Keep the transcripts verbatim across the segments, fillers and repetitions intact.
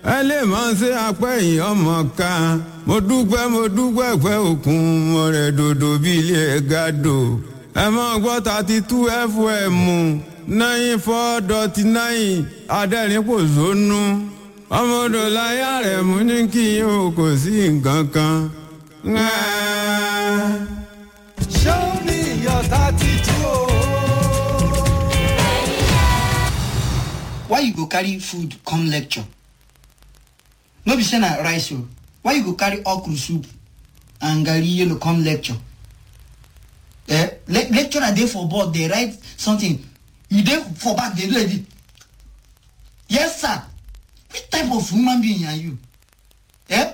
Ẹ lè máa ṣe apẹ́ yìí ọmọ kan. Mo dúpẹ́, mo dúpẹ́ pẹ́ òkun, mo rẹ̀ dòdò bí ilé ẹ̀ ga dò. Ẹ máa gbọ́ thirty-two F M, ninety-four dot nine, Adẹ́rìn-Pòṣónú. Ọmọ odò láyà rẹ̀ mú ní kí n ò kò sí nǹkan kan. Show me your thirty-two. Why you go carry food come lecture? No be say na rice o. Why you go carry okra soup and garri yellow come lecture? Eh? Le- lecturer dey for board, dey write something. You dey for back, dey do like this. Yes, sir. Which type of human being are you? Eh?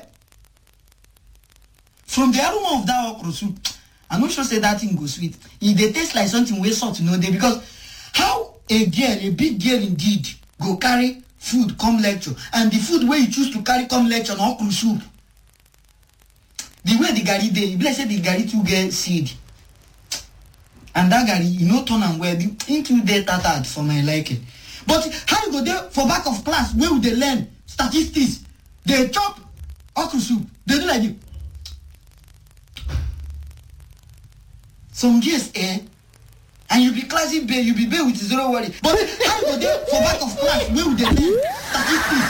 From the aroma of that okra soup, I no sure say that thing go sweet. E dey taste like something wey salt no dey, because how a girl, a big girl indeed, go carry food come lecture, and the food wey you choose to carry come lecture na okra soup. The way the garri dey, e be like say the garri too get seed. And that garri, you no turn am well. The thing too dey tattered for my liking. But how you go dey for back of class wey we dey learn statistics, dey chop okra soup, dey do like this? Some years, eh? And you be classy babe, you be babe with zero worry. But how you go dey for back of class wey we dey learn statistics?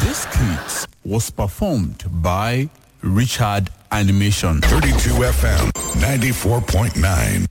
This skit was performed by Richard Animation. thirty-two F M, ninety-four point nine.